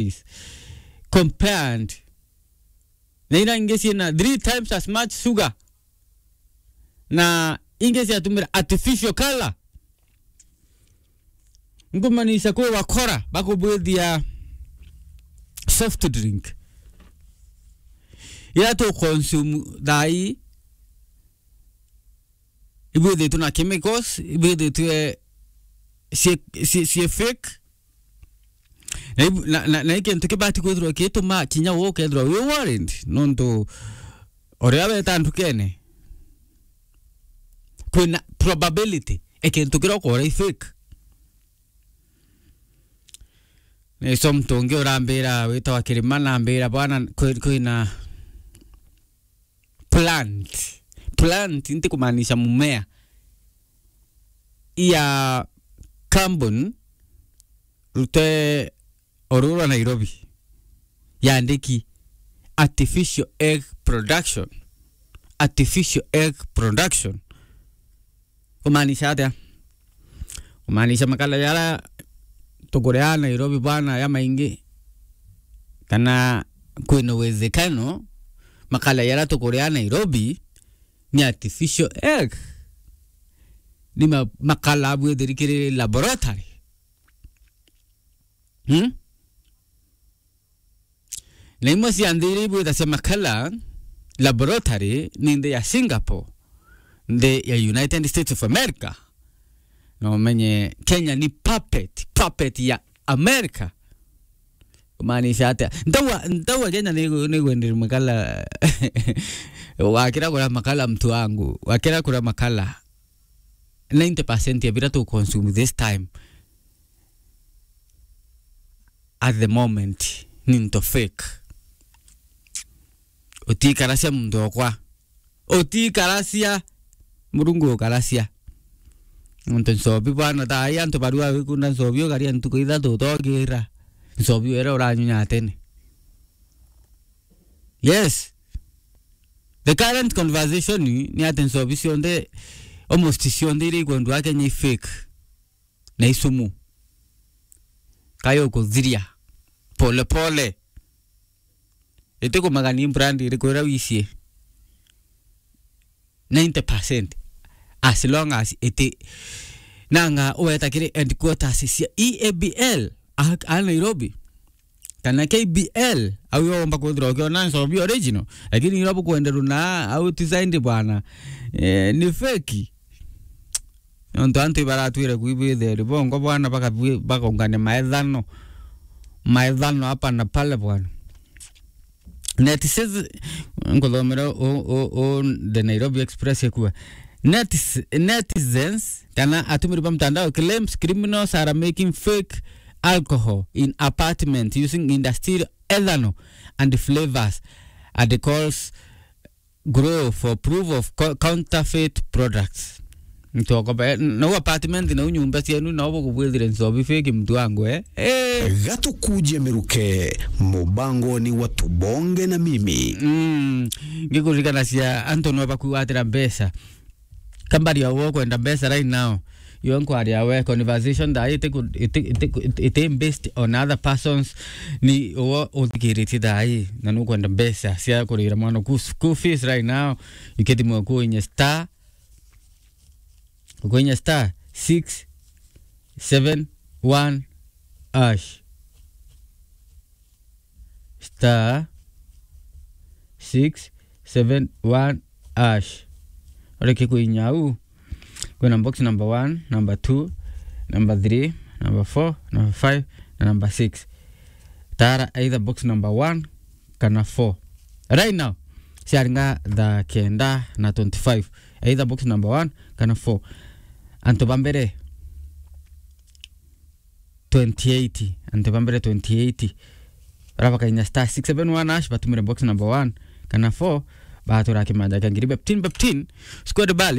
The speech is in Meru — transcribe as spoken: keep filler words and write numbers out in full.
calories compared na ira ingi ciina three times as much sugar, na ingi ciatumira artificial color. Nkumanisha kwi wakora bakubwithia soft drink ira tu consume thaa ii, ibwithitwe na chemicals, ibwithitwe cie, cie, cie fake. Na ibu-, na, na, na i kintu kibati kwithirwa gituma kinya we ukethirwa wi worried, nontu uria weta ndukene, kwina probability e kintu kiria ukora i fake. Nicio muntu ungi urambira witawa Kirima, nambira, "Bwana, kwi-, kwina plant." Plant nti kumaanisha mumea. Ya carbon rute orurwa Nairobi. Yandiki artificial egg production. Artificial egg production. Kumaanisha atia? Kumaanisha makala jara tukuria Nairobi bwana ya maingi, kana kwina uwezekano makala jara tukuria Nairobi ni artificial egg. Ni ma-, makala abwithiri kiri laboratory. Hmm? Na imwe cia nthi iria ibwitha cia makala laboratory ni nthi ya Singapore, nthi ya United States of America. Na umenye Kenya ni puppet, puppet ya America. Kumaanisha atia? Ntaua, ntaua Kenya ni, ni gwenderi makala. Wakira kura makala, mtu wangu, wakira kura makala, ninety percent ya bira tu consume this time at the moment ni into fake. Utikaracia muntu okwa. Utikaracia. Murungu ukaracia. Muntu ncobi bwana, thaa ii antu barua wikunda ncobi ukaria ntuku ithatu utogira. Ncobi wera uranyunya tene. Yes. The current conversation ni ati ncobi cionthe, almost cionthe iria ikwendwa Kenya i fake. Na isumu. Kayo kuthiria. Pole pole. Itikumagania brand iriku ira wicie. Ninety percent. As long as iti nanga uweta kiri headquarters cia E A B L a, a Nairobi. Kana K B L, au yo womba kwithirwa ukiona ncobi original, lakini ira bukwenderwa na au designed bwana, eh, ni fake. Nontu antu ibaratwire kwibwitheri bongo bwana, bakabwi-, bakaungania maethano, maethano hapa na pale bwana. Netiz-, nkuthomera u, u, u, The Nairobi Express ikua. Netis-, netizens, kana atumiri ba mtandao claims criminals are making fake alcohol in apartment using industrial ethanol and flavors and calls grow for proof of co-, counterfeit products. Ntokoba, eh, nau apartment, nau nyumba cienu, nau bukubwithire ncobi fake mtu wangu, eh? Eh. Gatukuje miruke, mubangoni wa Tubonge na Mimi. Mm, ngikuririkanacia antu no bakwigwatira mbeca. Kambari ya wo kwenda mbeca right now. Yo nkwaria we, conversation thaa ii itiku-, iti-, itiku-, iti-, iti based on other persons. Ni uwo uthikiritie thaa ii, na nukwenda mbeca cia kurira mwana ku school fees right now. Ikithimwa kuinya star, kuinya star six seven one hash. Star six seven one hash. Ureke kuinya au. Kwina box number one, number two, number three, number four, number five, na number six. Tara either box number one kana four. Right now, ciaringa thaa kenda na twenty-five. Either box number one kana four. Antu ba mbere twenty eighty, antu ba mbere twenty eighty. Bara bakainya star six seven one hash, batumire box number one kana four, batura kimanja kia ngiri fifteen, fifteen, square bali.